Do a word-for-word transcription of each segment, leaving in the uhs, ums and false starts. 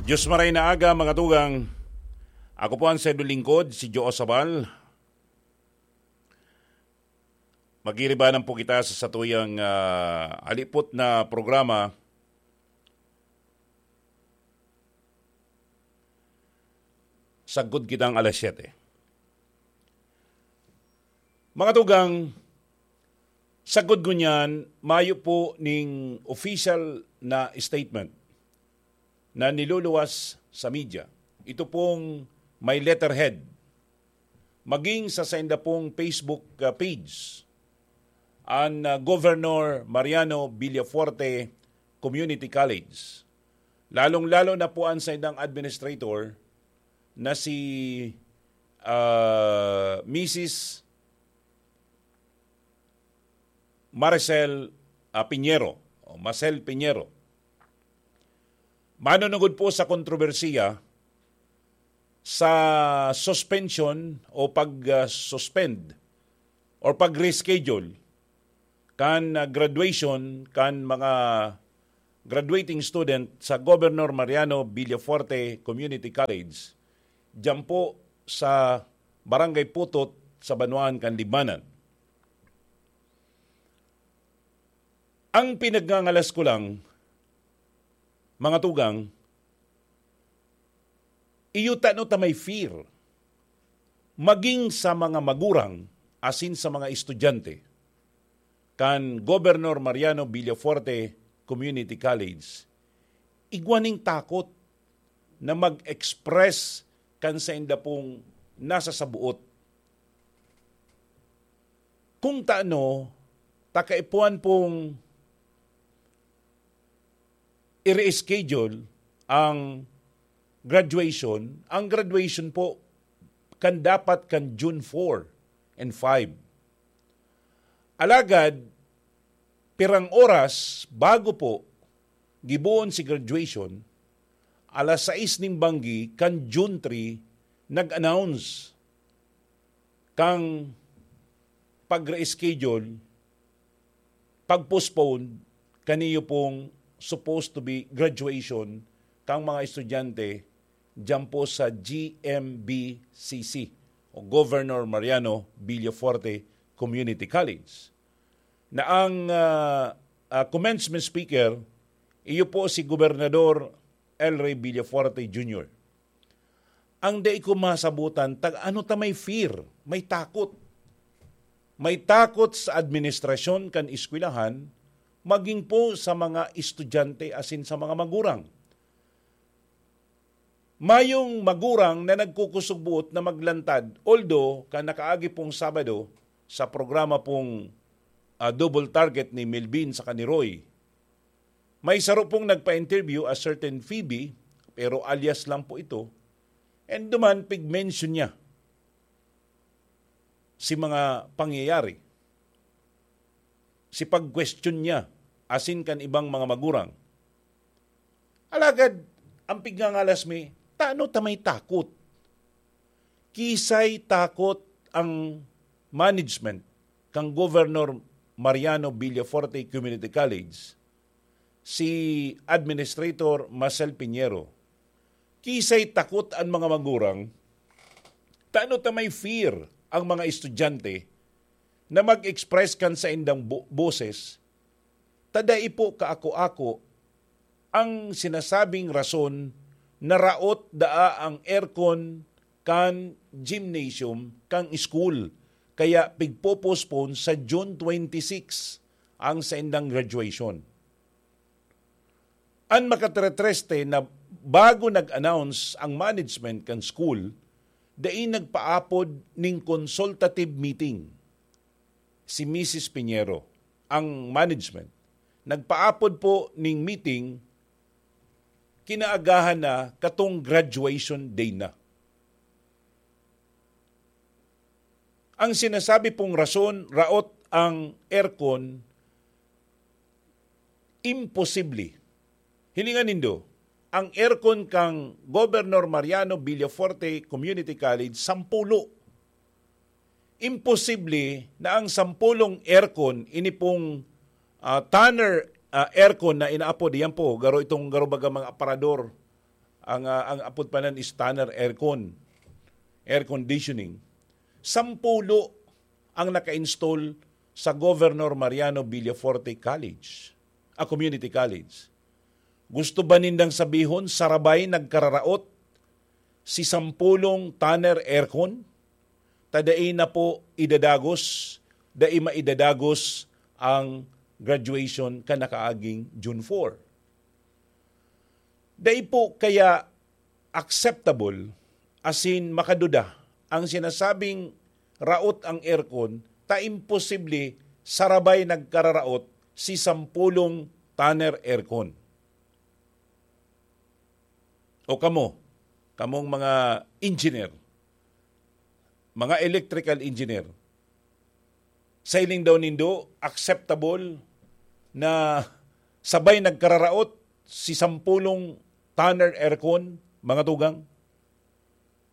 Diyos maray na aga, mga tugang. Ako po ang sendo lingkod, si Joe Sabal. Magiribanan po kita sa satuyang, ah, alipot na programa, Sagkod Kitang alas siyete. Mga tugang, sagkod ngunyan, mayo po ning official na statement na niluluwas sa media. Ito pong may letterhead, maging sa sainda pong Facebook, ah, page, an, ah, Governor Mariano Villafuerte Community College. Lalong-lalo na po an saindang administrator na si, ah, Misis Maricel, ah, Piñero, o Marcel Piñero. Manunugod po sa kontrobersiya sa suspension o pag, ah, suspend or pag-reschedule kan, ah, graduation kan mga graduating student sa Governor Mariano Villafuerte Community College, diyan po sa Barangay Putot sa Banwaan kan Libmanan. Ang pinagngangalas ko lang, mga tugang, iyo tano ta may fear, maging sa mga magurang asin sa mga estudyante kan Governor Mariano Villafuerte Community College, igwa ning takot na mag-express kan sainda pong nasasabuot. Kung taano, ta kaipuhan pong i-reschedule ang graduation. Ang graduation po kan dapat kan June four and five. Alagad, pirang oras bago po gibohon si graduation, alas sais ning banggi kan June three, nag-announce kang pag-reschedule, pag-postpone kaniyo pong supposed to be graduation kang mga estudyante diyan po sa G M B C C o Governor Mariano Villafuerte Community College. Na ang, ah, ah, commencement speaker, iyo po si Gobernador El Rey Villafuerte Junior. Ang dai ko masabutan, ta ano ta may fear, may takot. May takot sa administrasyon kan eskwelahan, maging po sa mga estudyante asin sa mga magurang. Mayong magurang na nagkukusog buot na maglantad, although kan nakaagi pong Sabado sa programa pong, ah, Double Target ni Melvin saka ni Roy, may saro pong nagpa-interview, a certain Phoebe, pero alias lang po ito, and duman pig-mention niya si mga pangyayari, si pag-question niya asin kan ibang mga magurang. Alagad, ang pigngangalas mi, tano ta may takot? Kisay takot ang management kan Governor Mariano Villafuerte Community College, si Administrator Marcel Piñero. Kisay takot an mga magurang, tano ta may fear ang mga estudyante na mag-express kan saindang bo-, boses, ta dai po kaako-ako ang sinasabing rason na raot daa ang aircon kan gymnasium kan school, kaya pigpo-postpone sa June twenty-six ang saindang graduation. An makatretreste na bago nag-announce ang management kan school, dai nagpaapod ning consultative meeting si Misis Piñero, ang management. Nagpaapod po ning meeting kinaagahan na katong graduation day na. Ang sinasabi pong rason, raot ang aircon, imposible. Hilingan nindo, ang aircon kang Governor Mariano Villafuerte Community College, sampulo. Imposible na ang sampulong aircon, ini pong, ah, Tanner, ah, aircon na inaapod, yan po, garo itong garo baga mga aparador, ang, ah, ang apod pa nan is Tanner Aircon, air conditioning. Sampulo ang naka-install sa Governor Mariano Villafuerte College, a community college. Gusto ba nindang sabihon, sarabay nagkararaot si sampulong Tanner Aircon? Ta dai na po idadagos, dai maidadagos ang graduation kan nakaaging June four. Dai po kaya acceptable, asin makaduda, ang sinasabing raot ang aircon, ta imposible sarabay nagkararaot si sampulong Tanner Aircon. O kamo, kamong mga engineer, mga electrical engineer, sa hiling daw nindo, acceptable na sabay nagkararaot si sampulong Tanner Aircon, mga tugang?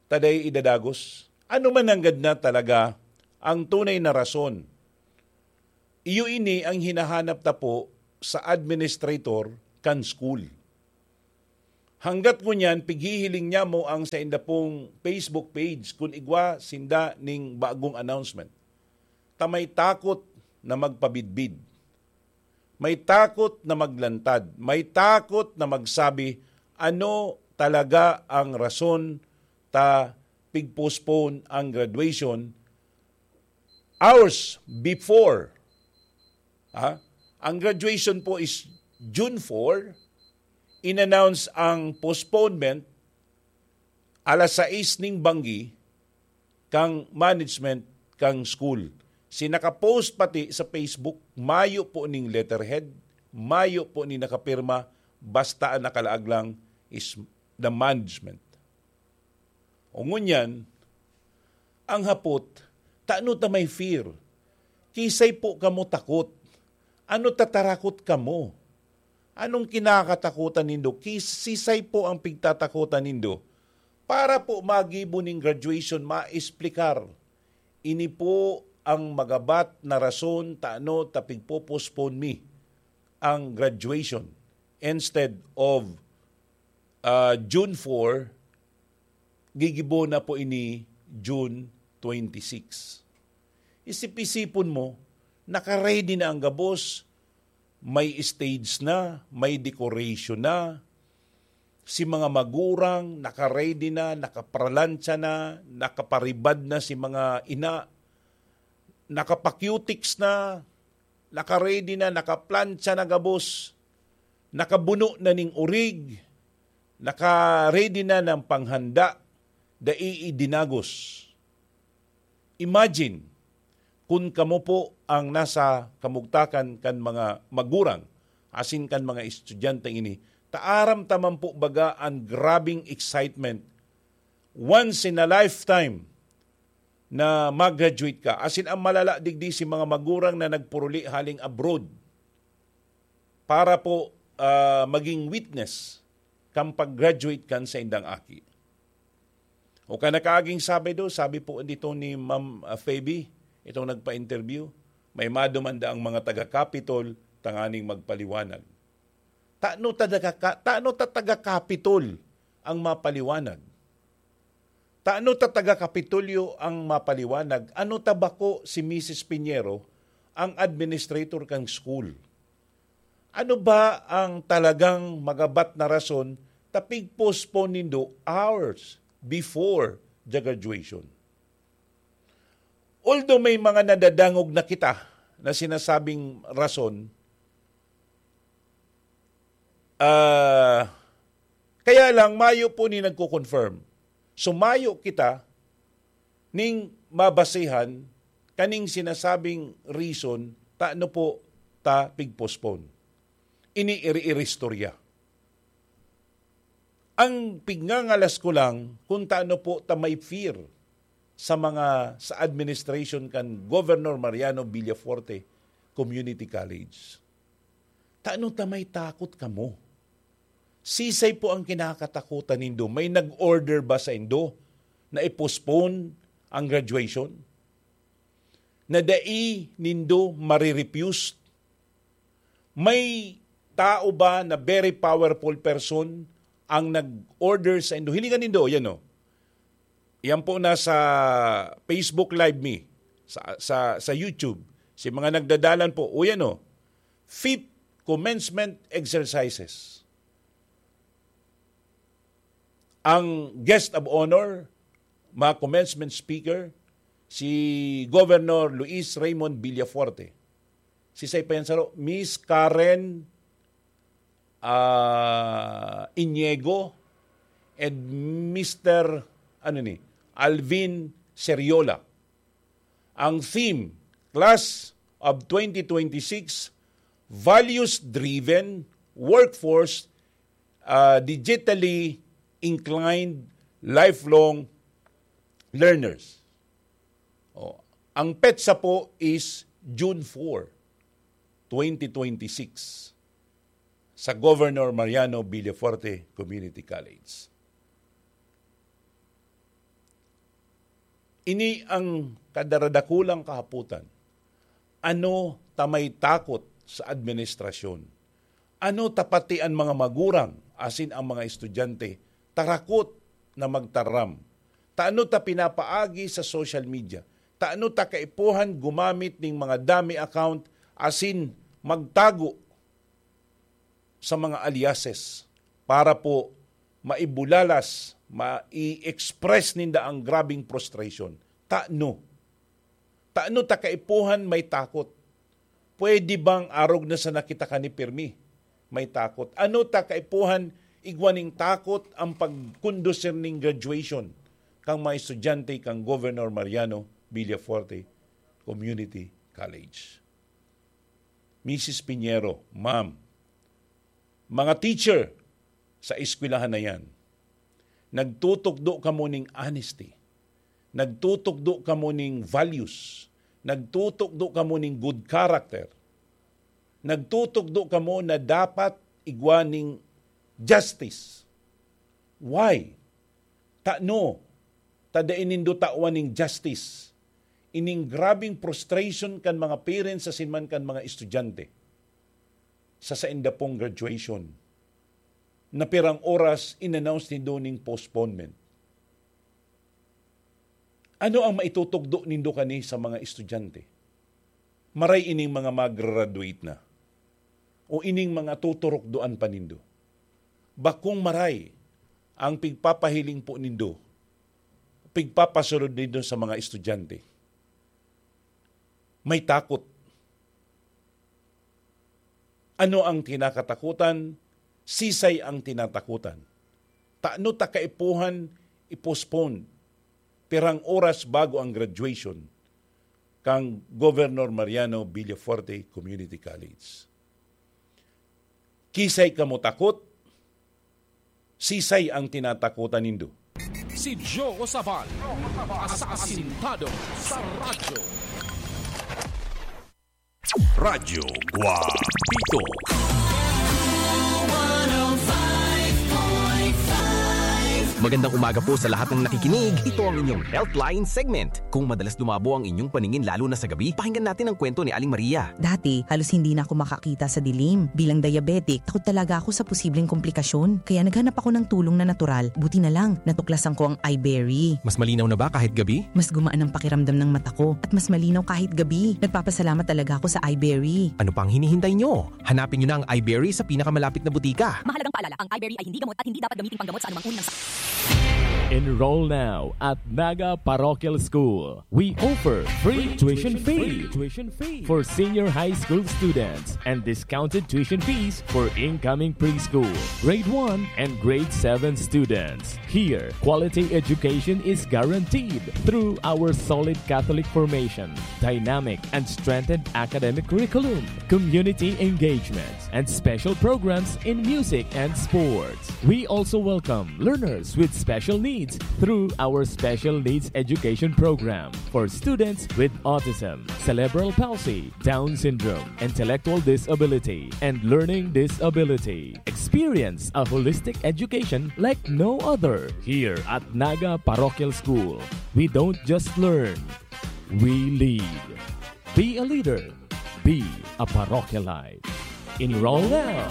Ta dai idadagos. Ano man nanggad na talaga ang tunay na rason? Iyo ini ang hinahanap ta po sa administrator kan school. Hanggat ngunyan, pighihiling niya mo ang sainda pong Facebook page kun igwa sinda ning bagong announcement. Ta may takot na magpabidbid. May takot na maglantad. May takot na magsabi, "Ano talaga ang rason ta pig-postpone ang graduation hours before?" Ha? Ang graduation po is June four. In-announce ang postponement alas sais ning banggi kan management kan school. Si naka-post pati sa Facebook, mayo po ning letterhead, mayo po ning nakapirma, basta ang nakalaag lang is the management. O ngunyan, ang hapot, tano ta may fear? Kisay po kamo takot? Ano ta tarakot kamo? Anong kinakatakutan nindo? Kisisay po ang pigtatakutan nindo? Para po magibo ning graduation, maesplikar. Ini po ang magabat na rason tano ta pigpo-postpone mi ang graduation instead of, ah, June four, gigibo na po ini June twenty-six. Isip-isipon mo, naka-ready na ang gabos, may stage na, may decoration na, si mga magurang naka-ready na, nakapralantsa na, nakaparibad na si mga ina, naka-cutics na, naka-ready na, nakaplantsa na gabos, nakabuno na ning orig, naka-ready na ng panghanda, dai idinagos. Imagine, kun kamo po ang nasa kamugtakan kan mga magurang asin kan mga estudyante ini, ta aram ta man po baga an grabeng excitement, once in a lifetime na mag-graduate ka. Asin ang malala digdi si mga magurang na nagpuruli haling abroad para po, ah, maging witness kan pag-graduate kan saindang aki. O kan nakaaging Sabado, sabi po dito ni Ma'am, ah, Feby, itong nagpa-interview, may maduman daang mga taga-Capitol tanganing magpaliwanag. Tano ta taga-, tano ta taga-Capitol ang mapaliwanag? Tano ta taga-Kapitolyo ang mapaliwanag? Ano ta bako si Misis Piñero, ang administrator kan school? Ano ba ang talagang magabat na rason ta pig-postpone nindo hours before the graduation? Although may mga nadadangog na kita na sinasabing rason, ah, kaya lang mayo po ni nagko-confirm. So mayo kita ning mabasehan kaning sinasabing reason tano po ta pig-postpone. Ini iri-iristorya. Ang pigngangalas ko lang kung tano po ta may fear sa mga, sa administration kan Governor Mariano Villafuerte Community College. Tano ta may takot kamo? Sisay po ang kinakatakutan nindo? May nag-order ba saindo na i-postpone ang graduation? Na dai nindo mare-refuse? May tao ba na very powerful person ang nag-order sa indo. Hilingan nindo, yan o. Yan po nasa Facebook Live mi, sa, sa, sa YouTube. Si mga nagdadalan po, o yan o, fifth commencement exercises. Ang guest of honor, mga commencement speaker, si Governor Luis Raymond Villafuerte. Si Say Pensaro, Miss Karen ah, Iniego, and Mister ano ni, Alvin Seriola. Ang theme, Class of twenty twenty-six, Values-Driven Workforce, ah, Digitally Inclined Lifelong Learners. Oh, ang petsa po is June four, twenty twenty-six. Sa Governor Mariano Villafuerte Community College. Ini ang kadaradakulang kahapotan. Ano ta may takot sa administrasyon? Ano ta pati an mga magurang asin ang mga estudyante tarakot na magtaram? Ta ano ta pinapaagi sa social media? Ta ano ta kaipuhan gumamit ning mga dummy account asin magtago sa mga aliases para po maibulalas, mai-express ninda ang grabing frustration. Tano? Tano ta kaipuhan may takot? Pwede bang arog na sana kita kani pirmi may takot? Ano ta kaipuhan igwa ning takot ang pagkondusir ning graduation kan mga estudyante kan Governor Mariano Villafuerte Community College? Misis Piñero, Ma'am, mga teacher sa eskwelahan na yan, nagtutukdo kamo ning honesty, nagtutukdo kamo ning values, nagtutukdo kamo ning good character, nagtutukdo kamo na dapat igwa ning justice. Why? Tano ta dai nindo tawan ning justice ining grabing frustration kan mga parents asin man kan mga estudyante sa sainda pong graduation, na pirang oras in-announce nindo ning postponement. Ano ang maitutugdo nindo kani sa mga estudyante? Maray ining mga magraduate na o ining mga tuturukdoan pa nindo. Bakong maray ang pigpapahiling po nindo, pigpapasunod nindo sa mga estudyante. May takot. Ano ang kinakatakutan? Sisay ang tinatakutan? Tano ta kaipuhan i-postpone pirang oras bago ang graduation kan Governor Mariano Villafuerte Community College? Kisay kamo takot? Sisay ang tinatakutan nindo? Si Joe Sabal, asasintado sa radyo. Radyo Guapito. Magandang umaga po sa lahat ng nakikinig. Ito ang inyong Healthline segment. Kung madalas dumabo ang inyong paningin lalo na sa gabi, pakinggan natin ang kwento ni Aling Maria. Dati, halos hindi na ako makakita sa dilim. Bilang diabetic, takot talaga ako sa posibleng komplikasyon. Kaya naghanap ako ng tulong na natural. Buti na lang, natuklasan ko ang iBerry. Mas malinaw na ba kahit gabi? Mas gumaan ang pakiramdam ng mata ko at mas malinaw kahit gabi. Nagpapasalamat talaga ako sa iBerry. Ano pang hinihintay nyo? Hanapin nyo na ang iBerry sa pinakamalapit na butika. Mahalagang paalala, ang iBerry ay hindi gamot at hindi dapat gamiting panggamot sa anumang uri ng sakit. Enroll now at Naga Parochial School. We offer free tuition fee for senior high school students and discounted tuition fees for incoming preschool, grade one, and grade seven students. Here, quality education is guaranteed through our solid Catholic formation, dynamic and strengthened academic curriculum, community engagement, and special programs in music and sports. We also welcome learners with special needs through our special needs education program for students with autism, cerebral palsy, Down syndrome, intellectual disability, and learning disability. Experience a holistic education like no other. Here at Naga Parochial School, we don't just learn, we lead. Be a leader. Be a parochialite. Enroll now.